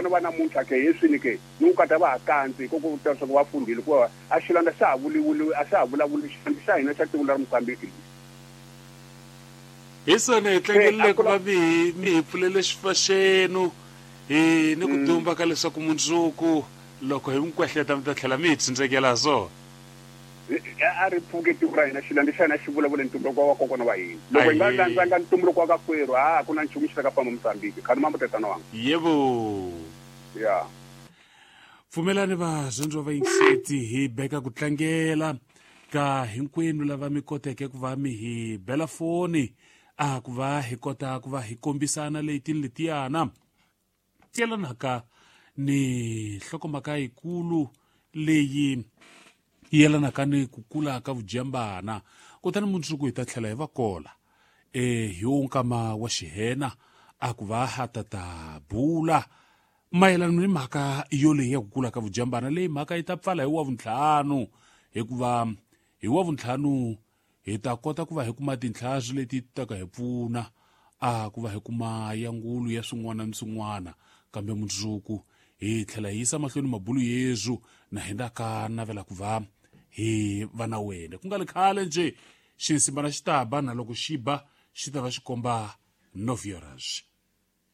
vona va namuntlha ke heswini ke ni ku kata va ha kandzi hi ku ta leswaku va fundhile hikuva a xilanda xa ha vuliwuli a xa ha vulavuli xilanda xa hina xa tiko ra Mozambique lexi. Hi swona hi tlangelile ku va mi hi mi hi pfulele xifa xenu hi ni ku dumba ka leswaku mundzuku loko hi mi kwehleta mi ta tlhela mi hi tsindzekela ha swona. A ri pfuke tiko ra hina xilanda xa hina xi vulavule ntumbuluko wa vakokwana wa hina. Loko hi nga landzanga ntumbuluko wa kakwerhu a ku na nchumu xi ta ka famba Mozambique. Khani mambo tatana wanga. Yebo. Ya. Pfumelani varhandziwa vayingiseti hi beka ku tlangela ka hinkwenu lava mi koteke ku va mi hi bela foni a ku va hi kota ku va hi kombisana leti ni letiyana yelanaka ni nhlokomhaka yikulu leyi yelanaka ni ku kula ka vujambana kutani mundzuku hi ta tlhela hi va kola e hi wo nkama wa xihena a ku va ha ta ta bula mayelana ni mhaka yoleyi ya ku kula ka vujambana leyi mhaka yi ta pfala hi wa vuntlhanu hikuva hi wa vuntlhanu hi ta kota ku va hi kuma tintlhari leti ta ka hi pfuna a ku va hi kuma ya ngulu ya swin'wana ni swin'wana kambe mundzuku hi tlhela hi yisa mahlweni mabulu yezu na hina ka navela ku va hi va na wena ku nga li khale nje xinsimbana xi ta ba na loko xi ba xi ta va xi komba novioras.